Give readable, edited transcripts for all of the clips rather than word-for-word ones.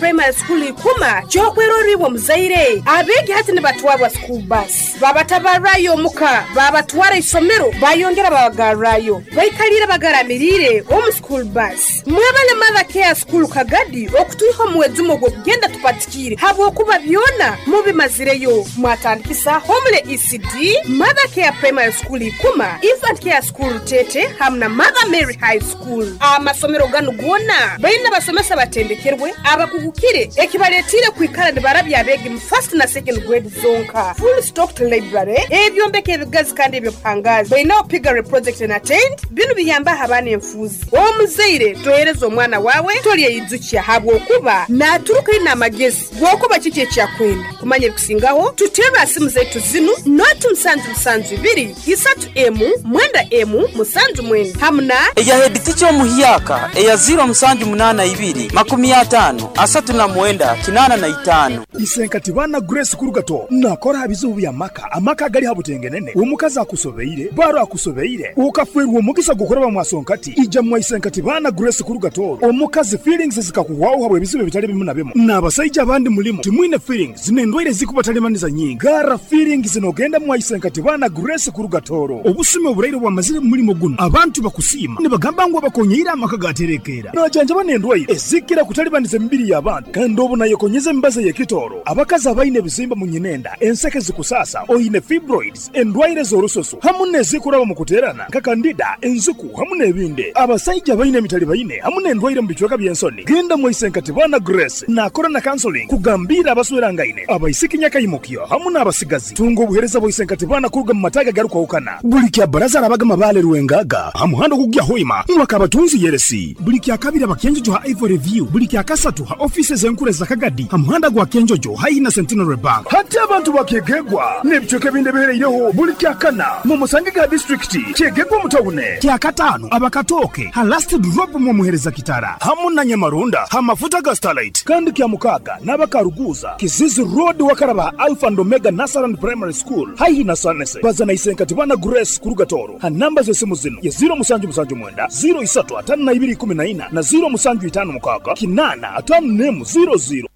Primary School Ikuma ky'okwerorra iwe omuzaire. Abeegi hati nibatwarwa school bus, babatabarrayo omuka, babatwara isomero, bayongera babagarrayo. Baikaliire bagaramiriire omu school bus. Mwebale Mother Care School Kagadi okutwiha omu mwejumo gw'okugenda tupatikiire habwokuba byona mubimazireyo. Mwatandikisa Homely ECD, Mother Care Primary School Ikuma, Infant Care School Rutete hamu na Mother Mary High School. Amasomero ganu goona baine abasomesa abatendekerwe, abakugukire ekibaletiire kwikara nibarabya abeegi mu first na second grade zonka. Full stocked library, ebyombeko ebigazi kandi eby'obuhangaazi. Bainaho piggery project and attend. Binu biyambaho abaana enfuuzi. Omuzaire tohereza omwana waawe tolyeyijukya habwokuba naaturuka aine amagezi g'okuba kiki eki akwenda. Kumanya ebikusingaho, tuterre ha simu zaitu zinu, noti musanju musanju ibiri, isatu emu, mwenda emu, musanju mwenda hamu na. Eya headteacher omuhyaka eya ziiro musanju munaana ibiri, makumi ataano, asatu na mwenda, kinaana na itaano. Isenkati baana Grace Kurugato nakora ha bizibu by'amaka, amaka agali ha butengenene, omukazi akusobeire, baro akusobeire, okafwerwa omugisa gw'okuraba mwasonkati, ija mwa Isenkati baana Grace Kurugato, omukazi feelings zikakuhwaho habw'ebizibu ebitali bimu na bimu, n'abasaija abandi mulimu timwine feelings n'endwaire ezikubatalibaniza nyingi. Garra feelings n'ogenda mwa Isenkati baana Grace Kurugatoro. Obusumi oburaire obwamazire mu mulimo gunu, abantu bakusiima nibagamba ngu abakonyeire amaka gaterekeera. Najanjaba n'endwaire ezikira kutalibaniza emibiri y'abantu kandi obu nayekonyeza emibazi ey'ekitooro. Abakazi abaine ebizimba mu nyinenda, enseke zikusaasa, oine fibroids, endwaire z'orususu hamu n'ezikuraba mu kuteerana nka kandida, enziku hamu n'ebindi. Abasaija abaine emitalibaine hamu n'endwaire mu bicweka by'ensoni, genda mwa Isenkati Baana Grace naakora na counseling kugambiira abaswerangaine, abaisiki nyakaimukyo hamu n'abasigazi. Tunga obuheereza bwa Isenkati Baana kuruga mu mataagi agarukwahukana. Buli kya Baraza arabaga Mabaale Rwengaga ha muhanda ogukugya Hoima mwaka abatunzi Yeresi. Buli kya Kabiri aba Kyenjojo ha Ivory View. Buli kya Kasatu ha ofiisi ez'enkuru eza Kagadi ha muhanda gwa Kyenjojo haihi na Centenary Bank. Hati abantu ba Kyegegwa n'ebicweka ebindi ebihereireho buli kya Kana mumusange ha disiturikiti Kyegegwa omu tawune. Kya Kataano aba Katooke ha Last Drop mwomuhereza Kitara hamu na Nyamarunda ha mafuta ga Starlight. Kandi kya Mukaaga n'aba Karuguuza, Kizizi Road wakaraba ha Alpha and Omega Nursery and Primary School haihi na Sanese. Baza na Isenkati Bana Grace kuruga Tooro ha namba z'esimu zinu ye ziiro musanju musanju mwenda, ziiro isatu ataano na ibiri ikumi na ina na ziiro musanju itaano mukaaga kinaana ataano n'emu ziiro ziiro.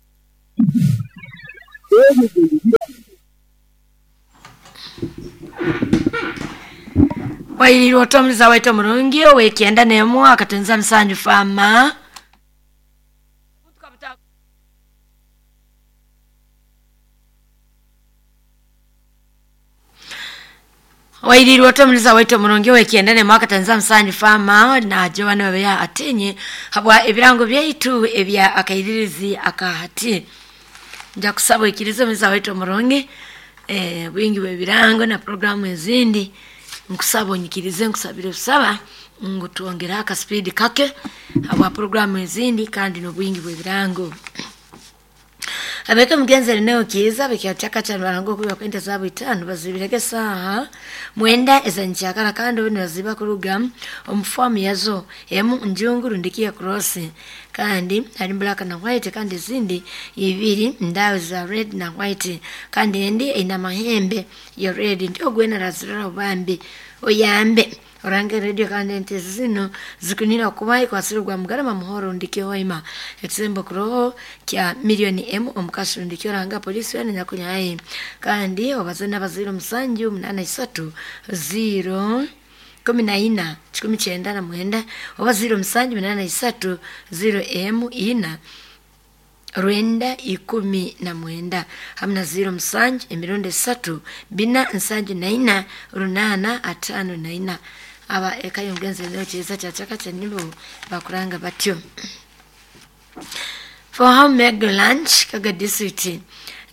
Wairiirwe ota omuliza waitu omurungi ow'ekyenda n'emu akatunza musanju faama. Wairiirwe ota omuliza waitu omurungi ow'ekyenda n'emu akatunza musanju faama na Joan Babeya Atinyi habwa ebirango byaitu ebya akairirizi akahati. Nja kusaba oikirize omuliza waitu omurungi bwingi bw'ebirango na programu ezindi nkusaba onyikirize nkusabire busaba ngu twongere akasipidi kake habwa programu ezindi kandi n'obwingi bw'ebirango. Abeka mugenzi eneo kiiza bekyachaka cha barango kuba kwenda zabu itano bazibirege saha mwenda ezanchakara kandi obino baziba kuruga omufomu yazo emu njungu rundikia cross kandi hari black na white kandi izindi ibiri ndawe za red na white kandi endi ina mahembe ya red ndio gwena razirora bambi oyambe orange radio kandi ente zino zikunira kuba ikwasirwa mugarama muhoro ndikyo hoima ekisembo kuroho kya milioni emu omukashi ndikyo ranga polisi yana nyakunyaye kandi obazana baziro musanju munana isatu 0 14 99 oba 0 musanju munana isatu 0 emu ina rwenda ikumi na mwenda hamna 0 musanju emirundi esatu bina nsanju na ina runana atano na ina aba eka y'omugenzi eneo kiza kyachaka kyanibo bakuranga batyo. For how make lunch Kaga district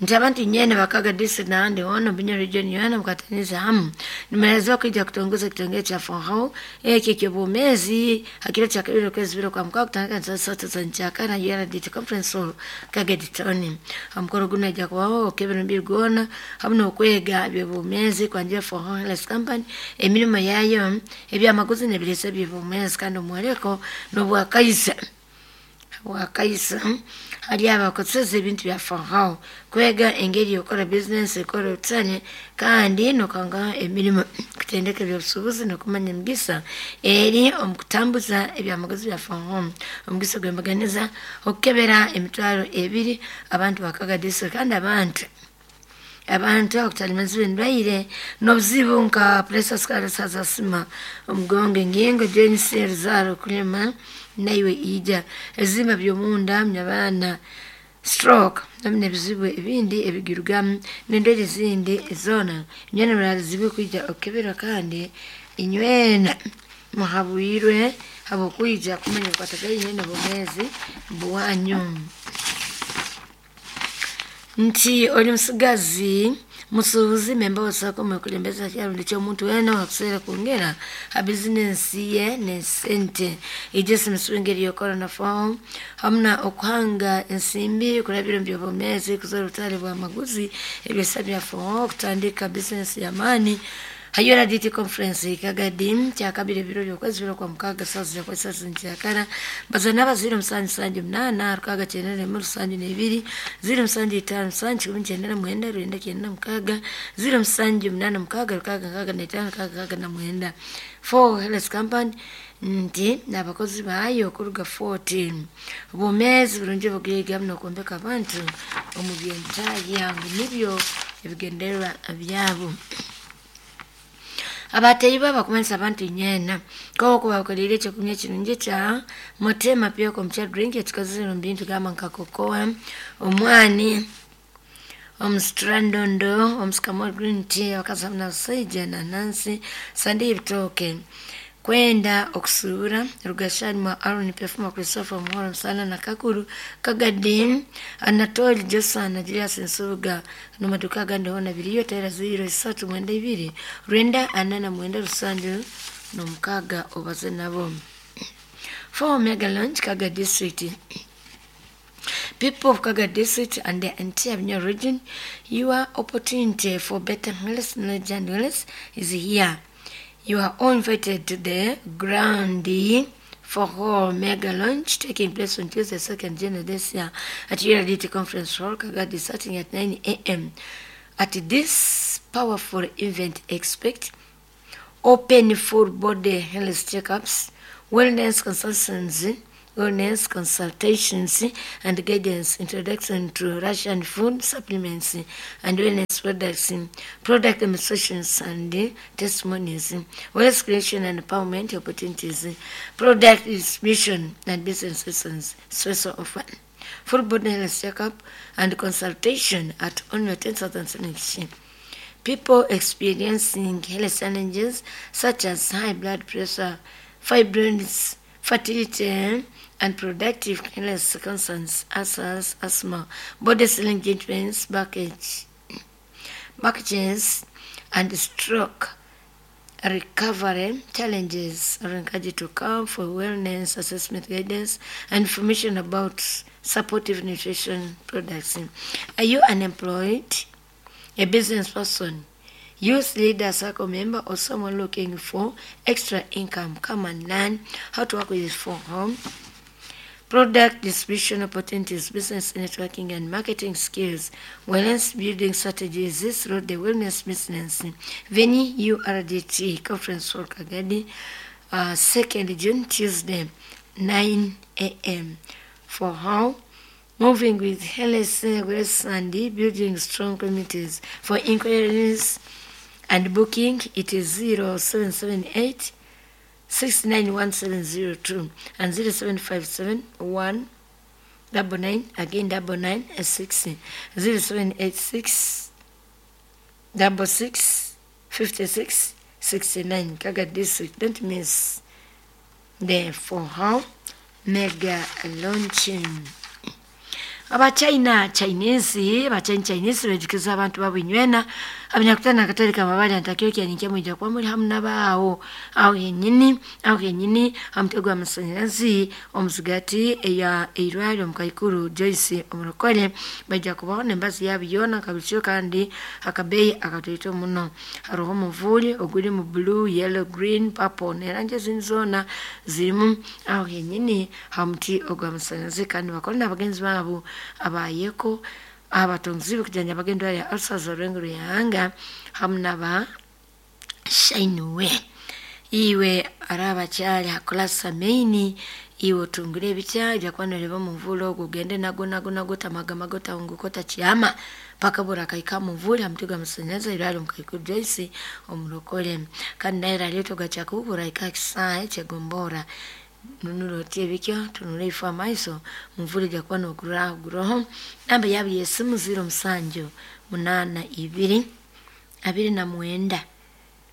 nti abantu nyene bakaga district na andi ono binyo region yana mukataniza hamu nimeelezewa kuja kutongoza kitongeo cha Fonhau eki kyobumezi hakiro cha kabiri kwezi biro kwa mkoa kutanga za sote za nchaka na yara dit conference hall Kaga ditoni amukoro guna ja kwao kebero mbiri gona hamu nokwega byobumezi kwa njia Fonhau Health Company emirimo yayo ebyamaguzi nebirese byobumezi kandi omwereko nobwakaisa wakaisa Hali abakozesa ebintu bya Farao kwega engeri yokora bizinesi ekora obutane kandi nokanga emirimu, kutendeka ebyobusuubuzi n'okumanya emigisa eri omu kutambuza ebyamaguzi bya Farao. Omugisa gwembaganiza okukebera 20,000 abantu bakaga district kandi abantu abakutalimazibwa endwaire n'obuzibu nka pressure, sukari, asima, omugongo, engingo, joints, eruzaaro, kulema naiwe ija ebizimba by'omunda, munyabaana, stroke hamu n'ebizibu ebindi ebigirugamu n'endwaire ezindi zoona. Inywena muraalizibwe kwija okukebera kandi inywena muhabwirwe habw'okwija kumanya obukwatagaine n'obwomeezi bwanyu. Nti oli musigazi, musuubuzi, memba wa SACCO, mwekulembeza kyarundi ky'omuntu weena owakuseera kwongera ha bizinensi ye n'esente. Ija simisibwa engeri y'okora na Farao hamu na okuhanga ensimbi kurabira omu by'obwomeezi, kuzoora obutale bw'amaguzi, ebyesa bya Farao, kutandika bizinensi y'amaani. Hayora DT Conference Kagadi kyakabiri ebiro by'okwezi biro kwa mukaaga saawa za kwezi saawa nkyakara baza naba 078 691 72 075 7 99 078 665 669 4 Health Company nti n'abakozi baayo kuruga 14 obwomeezi burungi bugaiga n'okwombeka abantu omu byentahya ngu nibyo ebigendererwa byabo. Abateyi bakumanyisa abantu inywena koko bakolire ekyokunywa ekirungi kya Motema Pure Kombucha drink ekikozesebwa omu bintu gamba nka cocoa, omwani, omusitrandondo, omusycamore green tea, abakazi hamu n'abasaija, nanansi, sande y'ebitooke, kwenda okusuubura Rugashani mwa Aaron Pefuma Christopher Muhoro Musana na Kakuru Kagadi Anatoli Josana Julius Nsubuga n'amaduka agandi hoona biriyo. Tera 0392 949 76 obaze nabo. For Mega Launch Kaga District. People of Kaga District and the entire Bunyoro region, your opportunity for better health, knowledge and wellness is here. You are all invited to the Grand for All Mega Launch taking place on Tuesday, 2nd January this year at URDT Conference Hall, Kagadi, starting at 9 a.m. At this powerful event, expect open full body health checkups, wellness consultations and guidance, introduction to Russian food supplements and wellness products, product demonstrations and testimonies, wealth creation and empowerment opportunities, product distribution and business lessons, special offer. Full body health checkup and consultation at only 10,000. People experiencing health challenges such as high blood pressure, fibroids, fertility, and productive health concerns, ulcers, asthma, body swelling, joint backache, and stroke recovery challenges are encouraged to come for wellness assessment, guidance, and information about supportive nutrition products. Are you unemployed, a business person, youth leader, circle member, or someone looking for extra income? Come and learn how to work with For Home. Product distribution opportunities, business networking and marketing skills, wellness building strategies through the wellness business. Venue URDT Conference Hall Kagadi, 2nd June, Tuesday, 9 a.m. For how moving with health, grace, and building strong communities. For inquiries and booking, it is 0778 691702 and 0757 1 99 again 99 6 0786 66 56 69. Kaga District. Don't miss the For How Mega Launching. Abachina Chinese, abachina Chinese bejukiza abantu babinywena Abanyakutana Katolika mabali antakio kyaninkia mwija kwa muri hamu nabaawo aho yenyini hamutego amasanyarazi omuzigati eya eirwaliro mukaikuru Joyce omurokole bajja kubaho nembazi yabo yona kabikyo kandi akabeyi akatoito muno. Haroho omuvuli oguri mu blue, yellow, green, purple nerangi ezindi zoona zirimu aho yenyini hamuti ogw'amasanyarazi kandi bakora n'abagenzi baabo abayeko abatonzi kujanja bagendo ya ulcers orwengero yahanga hamu naba Shineway. Iwe arabakyali hakulasa maini iwe otungire ebitya ebyakuba muvule ogwo ogende nago nago nago tamagamago tahunguka otakyama paka burakaika muvule hamuti gw'amasanyarazi irwaliro mukaikuru Joyce omurokole kandi naye raleta ogakyakuhubura ika kisaahe kyegombora nunura oti ebikyo tunura ifo amaiso muvule jakuba noguraho guroho. Namba yabo yesimu 07 82 29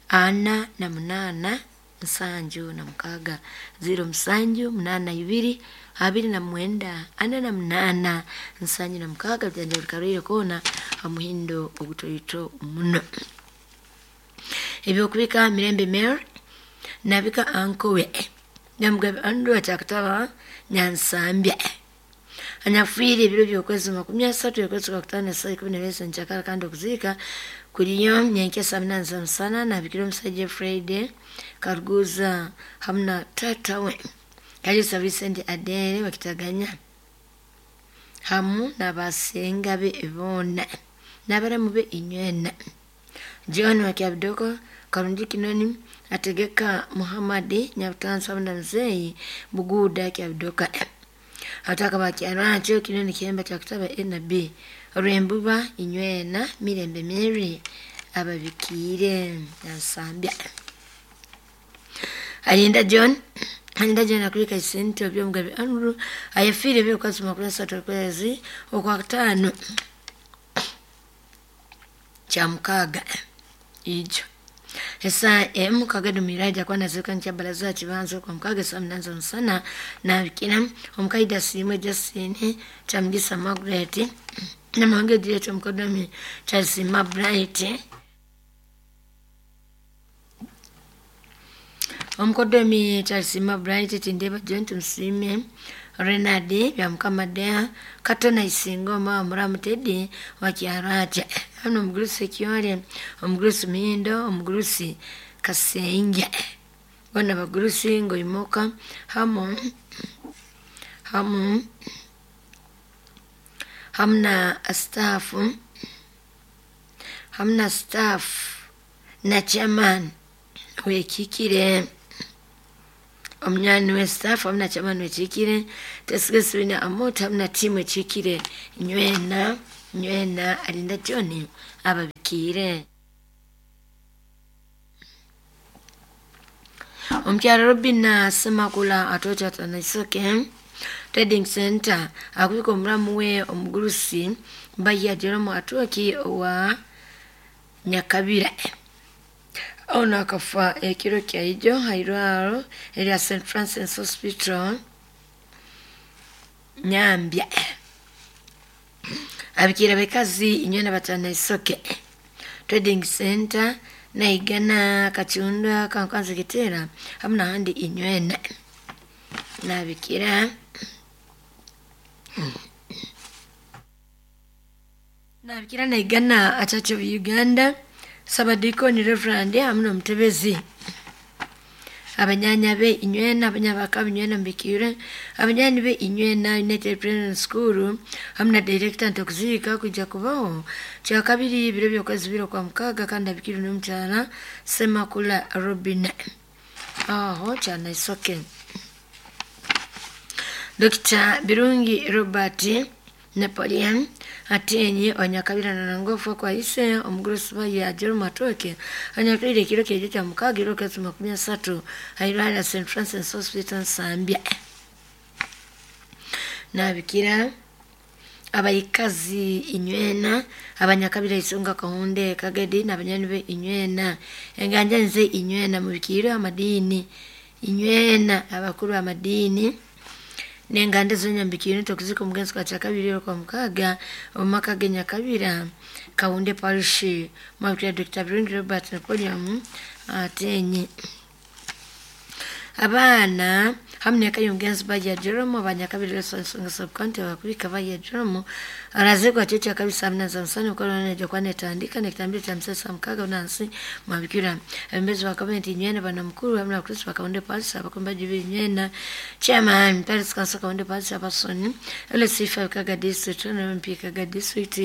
48 76 07 82 29 48 76 byanja bikarwire kona amuhindo ogutoito muno. Ebyokubika Mirembe Mary nabika ankowe Nyamugabe Andrew akyakutaba Nyansambya anyafiire ebiro by'okwezi 30 okwezi kwa kutaano saa 12 nkyakala kandi okuziika kuliyo nyenkya saa 8 z'omusana nabikira omusajja Friday Karuguza hamu na taata we Kalisa Vincent Adere bakitaganya hamu n'abasenga be boona n'abaramu be inywena. John Wakyabidoko Karungi Kinoni ategeka Muhammad Nyabutansi hamu na Mzeyi Buguda Kyabidoka ataka bakyarwankyo Kinoni Kihemba kyakutaba NB Rwembuba inywena Mirembe Mary ababikiire Nyansambya. Alinda John akulika isente obyomugabe Andrew ayafiire ebyokwezi 33 okwezi okwa kutaano kya mukaaga ijo esa emu kagado miraja kwa nazika ncha baraza kibanzo kwa mukaaga saa 8 z'omusana nabikira omukaida simwe Justine Kyamugisa Margaret namange Juliet omukodomi Kyasima Bright omukodomi Kyasima Bright Tindeba John Tumsime Renard Byamukama Katona Isingoma Muramu Teddy wakyarwacha hano omugurusi Kyore omugurusi Mihindo omugurusi Kasenge bona bagurusi ngoimuka hamu hamu hamna staff na chairman wekikire omunyani we staff hamna chairman wekikire tesigesibina amota hamna timu ekikire nywena alinda John ababikire. Omukyala Robina Semakula atocha Tanaisoke Trading Center akubika omulamu we omugurusi Mbaya Jerome Atoki wa Nyakabira ono akafa ekiro kya ijo hairwaro erya St Francis Hospital Nyambya. Abikira bekazi inywena Batanaisoke Trading Center naigana Kachunda Kankanzi Kitera hamna handi inywena nabikira naigana Church of Uganda Sabadikoni Reverend hamna mutebezi abanyanya be inywena abanyabaka inywena mbikire abanyani be inywena United Prison School hamna director ntokuzika kujja kubaho kya kabiri ibiro byokwezi biro kwa mukaga kandi abikiri n'omukyala Semakula Robin aho kyana isoke. Dr. Birungi Robert Napoleon atenye onyakabira na ngofu kwa ise omugurusi ya Jerome Atoke anyakwire kiro kyejo kya mukaga iro kezi 30 hairwala St Francis Hospital Nsambya. Nabikira abayikazi inywena abanyakabira isonga kahunde kagedi n'abanyani be inywena enganja nze inywena mubikiro amadini inywena abakuru amadini Nenganda zonyambikire tokuzika omugenzi kwa kyakabiri kwa mukaga omumaka ge Nyakabira Kawunde Parish mwabikira Dr. Birungi Robert Napoleon atenye abaana hamwe n'eka y'omugenzi bajya Jerome abanyakabiri Lesson sub-county bakubika bajya Jerome arazigwa kyo kyakabiri saa munana za musana mukoro nejo kwanetandika nekitambiro kya musasa mukaga nansi mwabikira abembezi wa gavumenti nywena bana mukuru hamwe na Kristo bakawunde Parish abakomba jibiri nywena chairman Parish Council Kawunde Parish abasoni LC5 Kaga district na MP Kaga district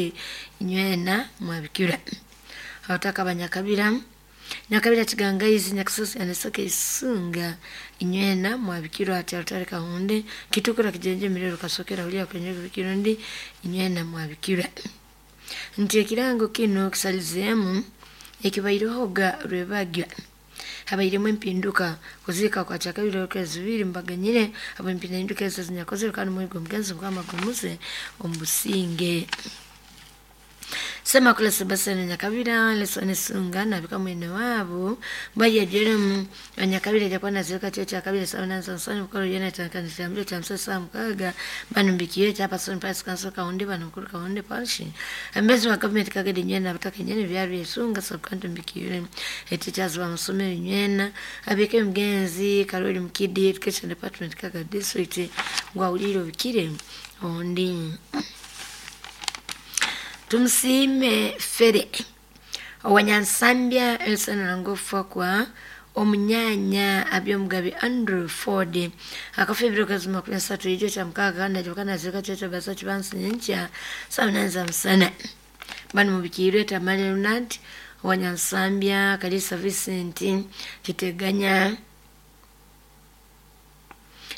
nywena mwabikira abataka abanyakabira Nyakabira Kigangaizi Nyakisozi anesoke isunga inywena mwabikirwa ati altare Kahunde kitukura kijenje mirero kasokera ulia kwenye kirundi inywena mwabikirwa nti ekirango kino kisalizemu ekibairohoga rwebagya habairemu empinduka kuzika kwa kyakabiri okwezi bibiri mbaganyire abo empinduka ezo zinyakozere kandi mwigo mugenzi mukama gumuze omubusinge. Sema kula Sebastian Nyakabira Lesson Sunga na bika mwene wabo baya Jerome Nyakabira jakuwa na zika cho kyakabiri sawa na sansani mukoro yena tankanisa mbiro cha msasa mukaga banumbikiye cha person Parish Council Kawunde bano mukuru Kawunde Parish ambezi wa government kagede nyena bataka nyene byari Sunga sub-county mbikiye teachers wa musomero nyena abike mgenzi Karoli Mkidi Education Department Kaga district ngwa uliro bikire ondi Tumsime Fere owanyansambya Elson Rangofa kwa omunyanya abyomugabi Andrew Ford akafa ebiro kazi 23 ekyo kya mukaaga najokana zika kyekyo basa kibansi nyenkya saa munana za musana bano mubikiirwe Tamale Ronald owanyansambya Kalisa Vincent Kiteganya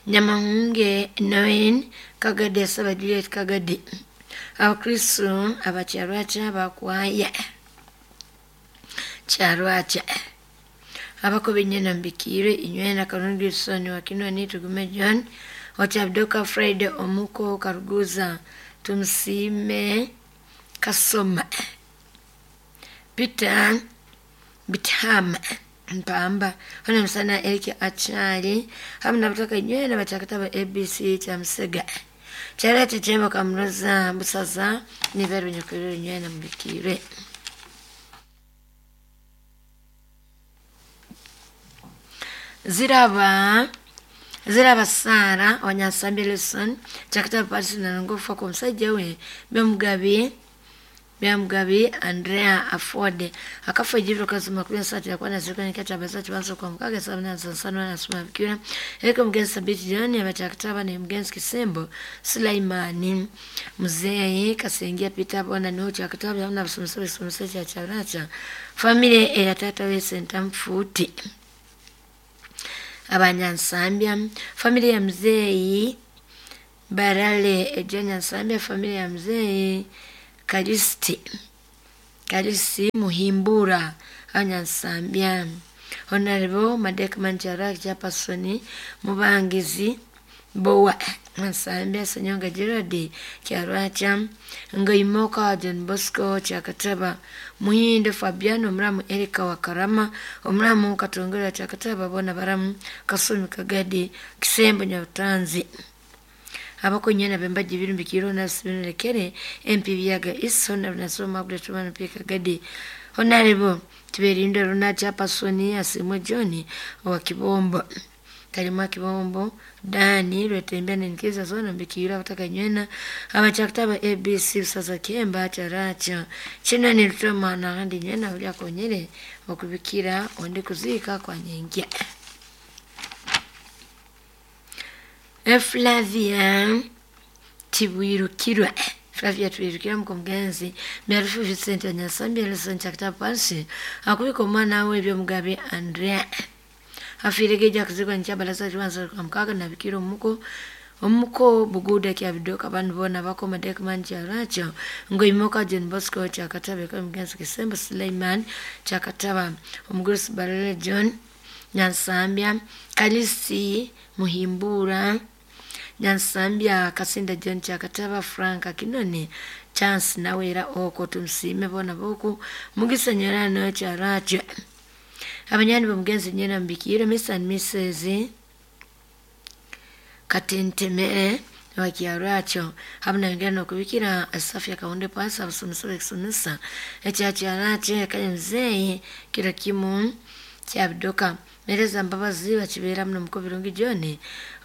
Nyamahunge Noen Kagade Saba Juliet Kagade Abakristo abakyarwacha bakwaya kyarwacha abakobe nyena mbikire inywena Karungi Soni wakinwa ni Tugume John Ochabdoka Friday Omuko Karuguza Tumsime Kasoma Peter Bitama Mpamba hona msana Eric Achali hamwe nabatoka inywena bachakataba ABC cha Msega Charate chemba kamroza busaza niveru nyokerero nywena mbikire. Ziraba Sara wanyasambi Lesson chakata pasi na ngofa kwa msajja we Byamugabi Andrea Afode akafa ejibiro kazi 23 yakuwa nazirikana kyacha bazachi banso kwa mukaga sabina sansano na suma bikira eko mgenzi Sabiti John abachakataba ne mgenzi Kisembo Sulaimani Mzee Kasengia Peter bona no chakataba hamna basomesa somesa cha characha family ya tata we senta mfuti abanyansambya family ya Mzee Barale ejanyansambya family ya Mzee Kalisi Muhimbura anyansambya Honorable Madek Manjara Japasoni Mubangizi Bowa Nsambya Sanyonga Gerard Kyarwacha Ngoimoka John Bosco Chakataba Muhinde Fabiano Mramu Erika Wakarama Omramu Katongera Chakataba bona baramu Kasumi Kagadi Kisembo Nyabutanzi abakonyana bembaji birumbikiro na sibinrekere MP Biyaga Isona nasoma Magret Pika Gadi Honorable Tiberindo Runa Pasoni Asimwe John wa Kibombo Kalima Kibombo Dani Rwetembea nenkiza zona mbikira bataka nywena abachakutaba ABC sasa kemba characha china ni rutoma na handi nywena ulia konyere okubikira onde kuzika kwa nyengia Flavia Tibwirukirwa Flavia Tibwirukirwa mkomgenzi Miarufu Vincent Nyasambia Lesson chakutaba pansi akubika omwana we ebyomugabe Andrea afiregeja kuzikwa nkyabalaza kibanza kwa mukaga na bikiro omuko buguda kya bidoka bantu bona bako madek manja racho ngoimoka John Bosco chakataba kwa mgenzi Kisembo Suleiman chakataba omugurusi Barale John Nyansambya Kalisi Muhimbura Nyansambya Kasinda John chakataba Frank Kinoni Chance nawera oko tumsime bona boku mugisa nyerano characho abanyani bamugenzi nyena mbikire Mr and Mrs Katentemere wakyarwakyo hamu nayongera nokubikira safu ya Kawunde pasi abasomesa bekisomesa ekyakyarwakyo ekaya muzeeyi kiro kimu kyabidoka mereza Mbabazi bakibeera muno Mukubirungi John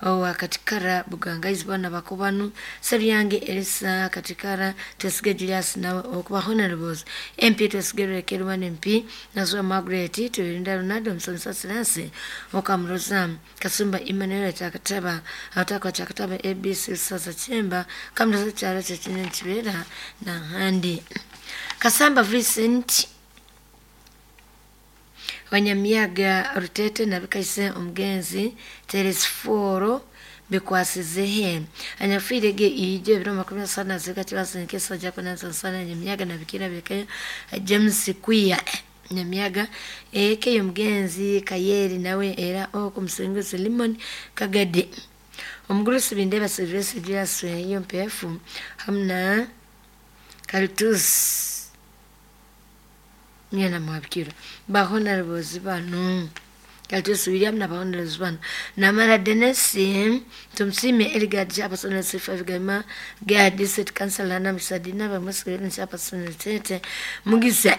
owa Katikara Bugangaizi bona bakubanu Sebyange Elisa Katikara Twesige Julius nawe okuba honorables MP Twesige Rekerwan MP Nazwa Margaret Turinda Ronaldo Msonsa Silansi Okamuroza Kasumba Emmanuel Chakataba Atakwa Chakataba ABC Sasa Chemba Kamroza Charo Chachinene Kibeera na Handi Kasamba Vincent Wanyamiyaga Rutete nabikaise omugenzi Telesforo bikwasizehe anyafiirege ijo ebiro 27 zika kibazinkesa jakunansansana Nyamiyaga nabikira bikayo James Kwiya Nyamiyaga ekeyo omugenzi Kayeri nawe era okumusinguzi Limon Kagade omugurusi Bindeba Silvestre Julius eyo mpefu hamu na Kaltus nyana mwabikira bahonorables bano Kaltus William na bahonorables bano Namara Dennis Tumsime Eligard Chairperson C5 Gama Gad District Council na Msadina bamusikireni Chairperson Tete Mugisa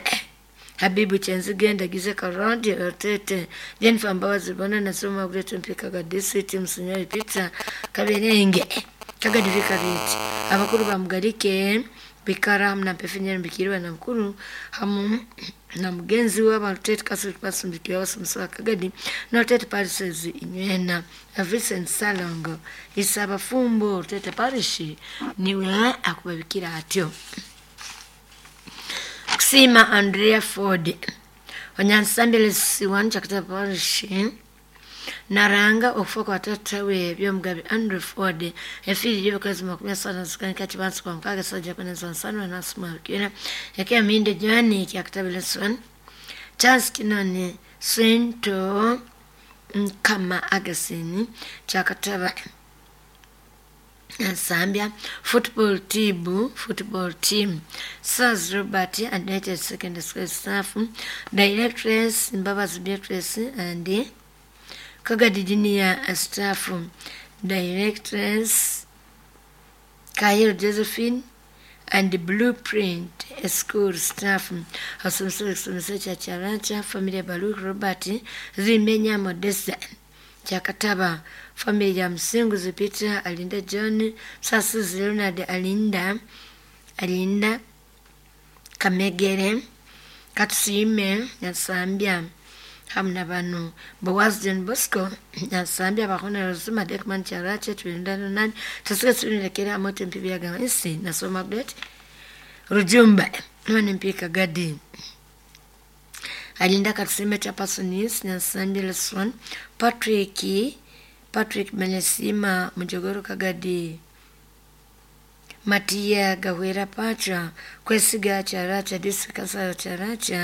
Habibu Chenzigenda Gize Karondi Tete Jennifer Mbabazi bona nasoma Great Mpika ga District Msunyali Peter Kaberenge Kagadi Vikariti abakuru bamugarike bikara hamu na mpefinyeri mbikiriwe na mukuru hamu na mugenzi we abalutete Catholic Pastor mbikiriwe abasomesa Kagadi na Rutete Parishes inywena Vincent Salongo Isaba Fumbo Rutete Parish niwe akubabikira atyo. Kusima Andrea Ford Onyansambele Siwan Chakata Parish naranga okufa kwa tata we byomugabe Andrew Ford efiiri y'obukazi 25 zikanika kibansi kwa mukaga sajja kunenza nsano nasumabikira ekya minde Joani kyakatabile swan Charles Kinoni Sento Nkama Agasini kyakataba Zambia football team Sars Robert and United Secondary School staff Directress Mbabazi Beatrice and Kagadi Junior staff Directress Kayel Josephine and Blueprint School staff Asomesa Chacharacha Familia Baluk Robert Zimenya Modesta Chakataba Familia Msinguzi Peter Alinda John Sasuzi Leonard Alinda Kamegere Katusime Nyasambia hamu na bano Boaz John Bosco Nyasambia bakona Rosuma Dekman Charache Tulinda Ronald Tasika Tulindekera Amote Mpibi Agawensi Nasoma Great Rujumba Mwana Mpika Gadi Alinda Katusime Chapasonis Nyasambia Leswan Patrick Menesima Mujogoro Kagadi Matia Gahwera Pacha Kwesiga Characha District Council Characha.